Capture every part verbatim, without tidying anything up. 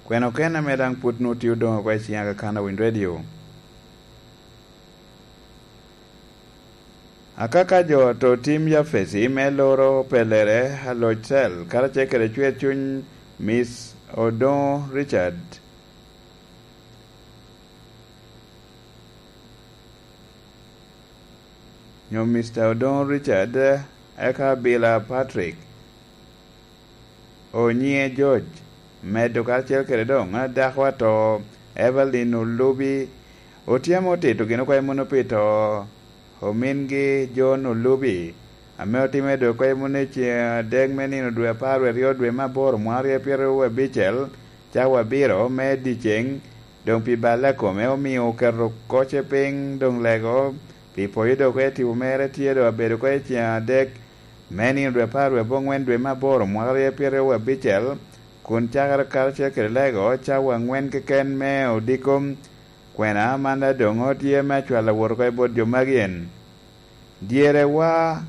Kwena okene ame daŋ pwod nwoŋo tye odoŋo oko i ciŋ Aga Khan Owiny Radio. Akaka jo a to tim Yafesi me loro pelere aloc cel karacel kede cwer cuny Miss Odoŋo Richard, nyo Mister Odoŋo Richard, eka Bila Patrick, onyiŋe George, medo karacel kede doŋ dako ato Evelyn Olubi, otyemo tito gin oko i muno pi to omingi John Olubi, ame otimme doŋ oko i muno i ceŋ adek me nino dwe apar aryo dwe me aboro mwaka aryo pyeraryo abicel, cawa abiro me dyeceŋ, doŋ pi balle a kome omio oketo kocce piny doŋ lego pi poyo doŋ oko i tipo mere tye doŋ abedo oko i ceŋ adek me nino dwe apar wie abongwen dwe me aboro mwaka aryo pyeraryo abicel, kun cakere karacel kede lego cawa angwen keken me odiko. Kwena man daŋ doŋ tye me acwal awot oko i bot jo magi en, dyerewa,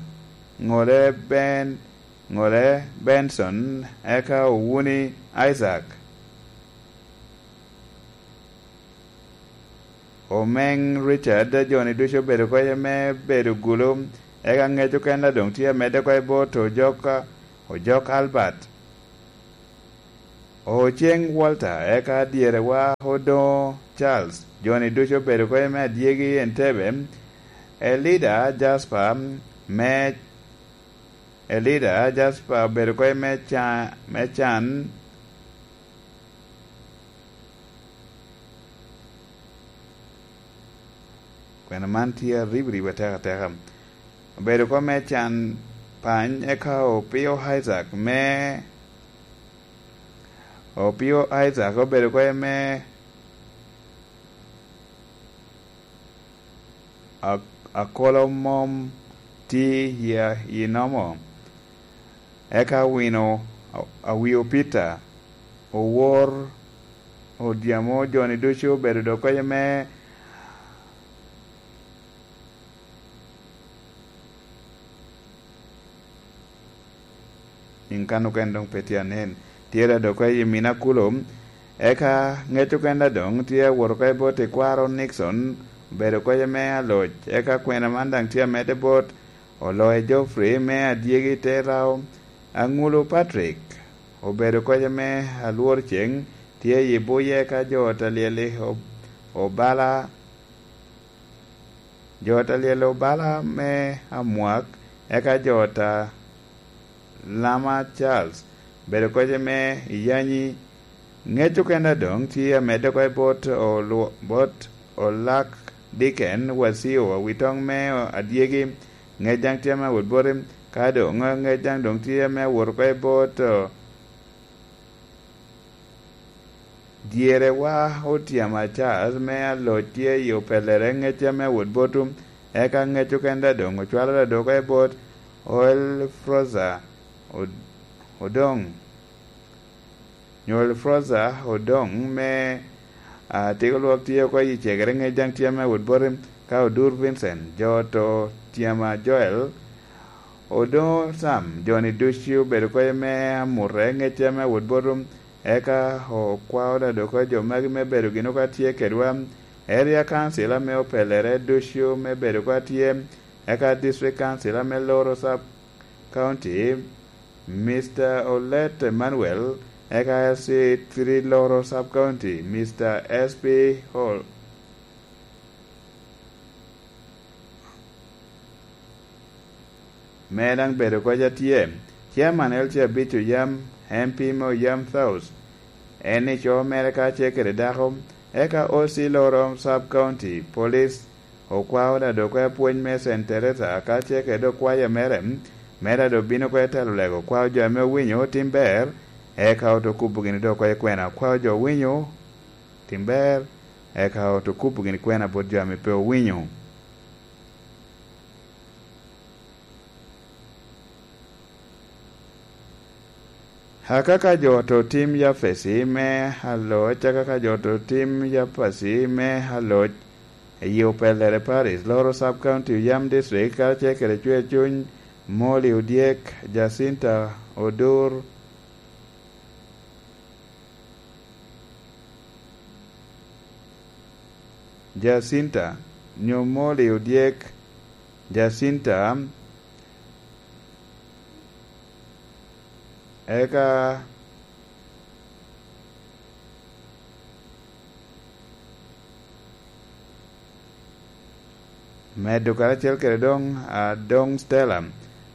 ŋole Ben, ŋole Benson, eka Owuni Isaac. Omeŋ Richard, joni ducu obedo oko iye me bedo gulu, eka ŋec okene doŋ tye amedde oko i bot Ojok, Ojok Albert. Oceŋ Walter, eka dyerewa Odoŋo Charles, joni ducu obedo oko iye me adyegi Entebbe. Elida Jasper me, Elida Jasper obedo oko iye me ca-, me can. Kwena man tye aribiribi atek ateka. Obedo oko me can pany, eka Opio Isaac me, Opio Isaac obedo oko iye me a-, akolo mom ti i, i nomo. Eka wino a-, awio Peter, owor odyamo joni ducu obedo doŋ oko iye me Nyiŋ kan okene doŋ pe tye anen. Tye daŋ doŋ oko i Mina kulo. Eka ŋec okene daŋ doŋ tye awot oko i bot i kwaro Nixon, obedo oko iye me aloc. Eka kwena man daŋ tye amedde bot Oloye Geoffrey me adyegi Terao. Aŋulu Patrick obedo oko iye me alwor ceŋ, tye i buye ka jo ta lyel i Ob-, Obala. Jo ta lyel Obala me Amwak, eka jo ta Lama Charles, bedo oko iye me Iyanyi. Ŋec okene daŋ doŋ tye amedde oko i bot olwo-, bot Olak Diken Wasio, awitoŋ me adyegi, ŋec daŋ tye ame awot boti, ka doŋ ŋec daŋ doŋ tye ame awot oko i bot, o, Dyerewa Otyama Charles me aloc tye i opellere ŋec ame awot botwu, eka ŋec okene daŋ doŋ ocwalo daŋ doŋ oko i bot Oel Froza Od-, Odoŋ. Nyo Elfroza Odoŋ me, a, Tigo Lwok tye oko i cegere ŋec daŋ tye ame awot boti, ka Odur Vincent, jo to Tyama Joel, Odoŋo Sam, joni ducu obedo oko iye me amute ŋec tye ame awot botwu, eka okwao daŋ doŋ oko jo magi me bedo gin oko a tye kedwa, Area Council ame opellere ducu me bedo oko a tye, eka District Council ame loro Sub County, Mister Olet Emmanuel, eka S C three Loro Sub County, Mister S P Hall, me daŋ bedo kec atye, Chairman L C Abic Oyam, M P me Oyam South, en ico mere ka ce kede dako, eka O C Loro Sub County Police, okwao daŋ doŋ oko i apwony me Saint Teresa, ka ce kede okwaya mere, me daŋ doŋ bino oko i telo lego, okwao jo ame owinyo tim ber, eka oto kubo gini doŋ oko i kwena, okwao jo owinyo tim ber, eka oto kubo gini kwena bot jo ame pe owinyo. Akaka jo to tim Yafesi me aloc, akaka jo to tim Yafesi me aloc, i Opellere Parish, Loro Sub County, Oyam District, karacel kede Cwer Cuny, Molly Odyek, Jacinta Odur, Jacinta, nyo Molly odyek Jacinta, eka medo karacel kede doŋ, a, doŋ Stella.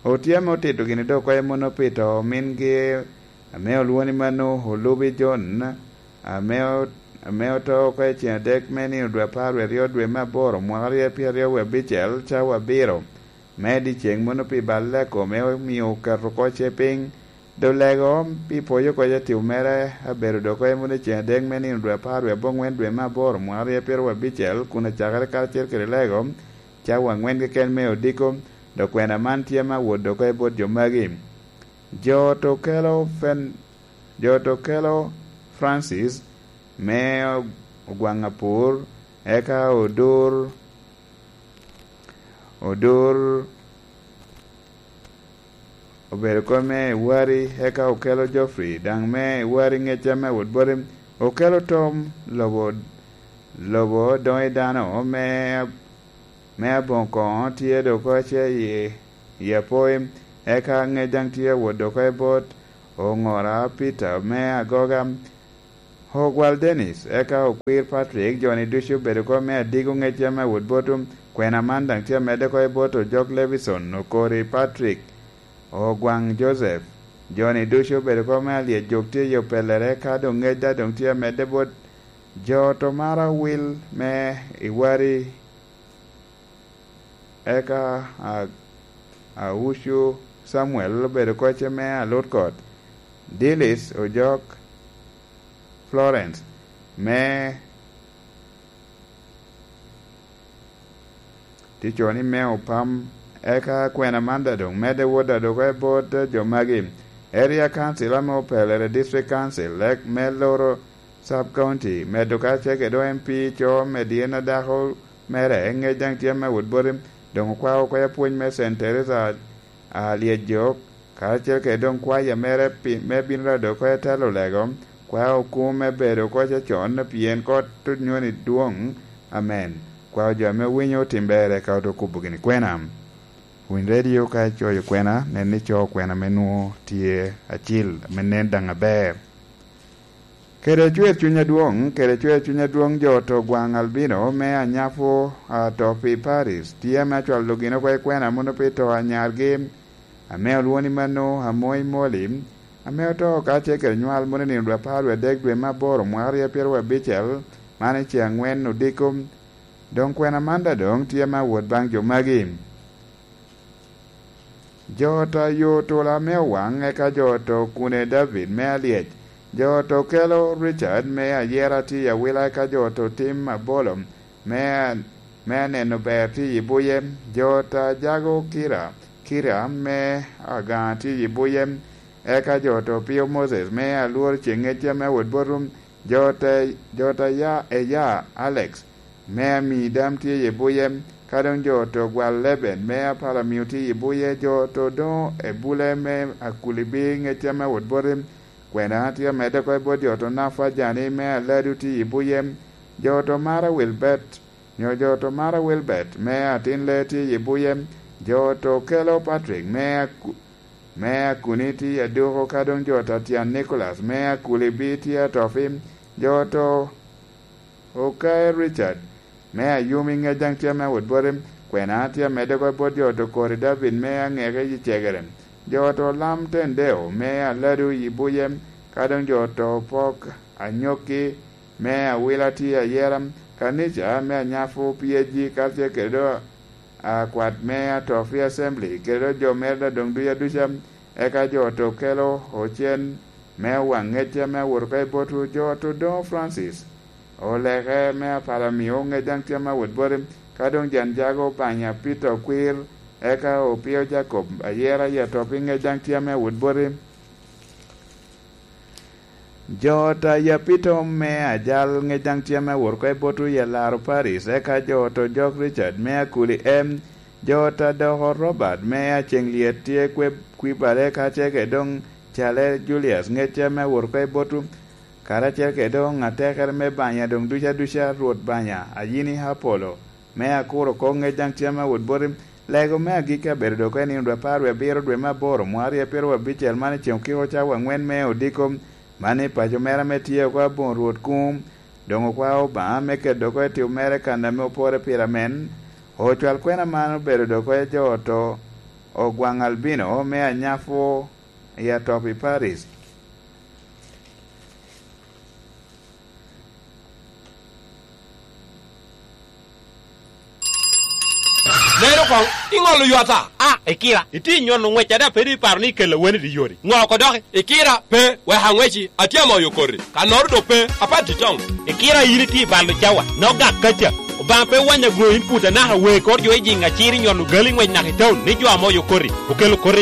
Otye ame otito gini doŋ oko i muno pi to omingi, ame olwoŋo ni mano Olubi John, ame o-, ame oto oko i ceŋ adek me nino dwe apar wie aryo dwe me aboro mwaka aryo pyeraryo wie abicel, cawa abiro me dyeceŋ muno pi balle kome omio oketo oko ce piny. Doŋ lego pi pwoyo oko ce timo mere abedo doŋ oko i muno i ceŋ adek me nino dwe apar wie aboŋwen dwe me aboro mwaka aryo pyeraryo wie abicel, kun acakere karacel kede lego cawa aŋwen keken me odiko, doŋ kwena man tye me awot doŋ oko i bot jo magi. Jo to kelo Fen-, jo to kelo Francis me ogwaŋ apur, eka odur, odur obedo kop me Iwari, eka okelo Geoffrey, daŋ me Iwari ŋecca me wot boti, okelo Tom lobo, lobo doŋ i dano me, me aboŋo koŋo tye doŋ oko ce i, i apoi, eka ŋec daŋ tye awot doŋ oko i bot Oŋora Peter me agoga, Ogwal Dennis, eka okwir Patrick, jo-ni ducu obedo oko me adigo ŋecca me wot boto, kwena man daŋ tye amedde oko i bot Ojok Levison, Okori Patrick, Ogwaŋ Joseph, jo-ni ducu obedo oko me alyec jok tye i opellere, ka doŋ ŋec daŋ doŋ tye amedde bot jo to mara wil me Iwari. Eka a-, Aucu Samuel obedo kocce me alut kot, Dilis Ojok Florence me ticoni me opam. Eka kwena man daŋ doŋ medde wot adoke bot jo magi. Area Council ame opelere District Council, ek me loro Sub County, medo ka ce kede M P co me dyen a dako mere, ŋec daŋ tye me wot boti. Doŋ okwao oko apwony me Saint Teresa a Lyejok, karacel kede doŋ kwaya mere pi-, me bino rado oko i telo lego, kwao kum me bedo oko cecon, pien kot onyoni dwoŋ. Amen. Kwao jo ame owinyo otim ber, eka ote kubo gini kwena. Winy redio ka icoyo kwena, nen ni icoo kwena me nwoŋo tye acil, ame nen daŋ aber. Kede cwer cuny adwoŋ, kede cwer cuny adwoŋ jo to gwaŋ Albino me Anyapo a to pi Paris, tye ame acwalo gin oko i kwena mono pi to anyargi, ame olwoŋo ni mano Amoy Moli, ame oto ka ce kede nywal mono i nino dwe apar wie adek dwe me aboro mwaka aryo pyeraryo abicel, man i ce aŋwen odiko. Doŋ kwena man daŋ doŋ tye me awot baŋ jo magi. Jo ta yo tula me owaŋ, eka jo to kune David me alyec. Jo to kelo Richard me ayera tye i awila, eka jo to tim abolo me a-, me aneno ber tye i buye. Jo ta jago Kira, Kira me agaŋa tye i buye. Eka jo to pio Moses me alwor ceŋ ŋecce me wot botum. Jo ta, jo ta ya, eya Alex me ami dam tye i buye, ka doŋ jo to gwal Leben me apala mio tye i buye, jo to doŋo ebule me akuli bi ŋecce me wot boti, kwena tye amedde oko i bot jo to nafa jani me aladu tye i buye, jo to mara Wilbert, nyo jo to mara Wilbert me atin le tye i buye, jo to kelo Patrick me aku-, me akuni tye aduko, ka doŋ jo to tyan Nicholas me akuli bi tye atofi, jo to Okae Richard me ayumi ŋec daŋ tye me wot boti, kwena tye amedde oko bot jo to kori David me aŋeke i cegere, jo to lam Tendeo me aladu i buye, ka doŋ jo to pok anyokki me awila tye ayera, kanica me anyapo P H G, ka tye kede do akwat me ato pi Assembly, kede do jo mere daŋ doŋ duc aduca, eka jo to kelo ocen me waŋ ŋecce me awot oko i botwu, jo to doŋo Francis. Oleke me apala mio ŋec daŋ tye me awot boti, ka doŋ jan jago Obanya Peter Okwir, eka opio Jacob ayera i ato pi ŋec daŋ tye me awot boti. Jo ta Yapito me ajal ŋec daŋ tye me wot oko i botwu i alaro Paris, eka jo to jok Richard me akuli M, jo ta doko Robert me aceŋ lyet tye kwe kwibale, ka ce kede doŋ cale Julius ŋec tye me wot oko i botwu, karacel kede doŋ atekere me banya doŋ duca duca, Rwot Banya, a yin i Apolo, me akuro oko ŋec daŋ cem awot boti. Lego me agikki abedo dok i nino dwe apar wie abiro dwe me aboro, mwaka aryo pyeraryo abicel, man i ceŋ okiko cawa aŋwen me odiko, man i paco mere ame tye oko aboŋo Rwot Kum, doŋ okwao Obaŋa me keto oko i tim mere kan ame opore pire amen. Ocwal kwena man obedo dok i jo oto, Ogwaŋ Albino me Anyafu i atop i Paris. Nen oko, iŋolo yo ata? A, ikira, itye nyono ŋwec ade a pe doŋ iparo ni ikella wene i yori. Ŋo oko doki? Ikira, pe, wek aŋweci, atye amoyo koti. Kannoro doŋ pe, apat itoŋ. Ikira, in itye i balo cawa, nok gak kaca. Obaŋa pe wanya gwo in put anaka wee kor jo i jiŋ acir i nyono gali ŋwec naka i taun ni jo amoyo koti, okelo koti i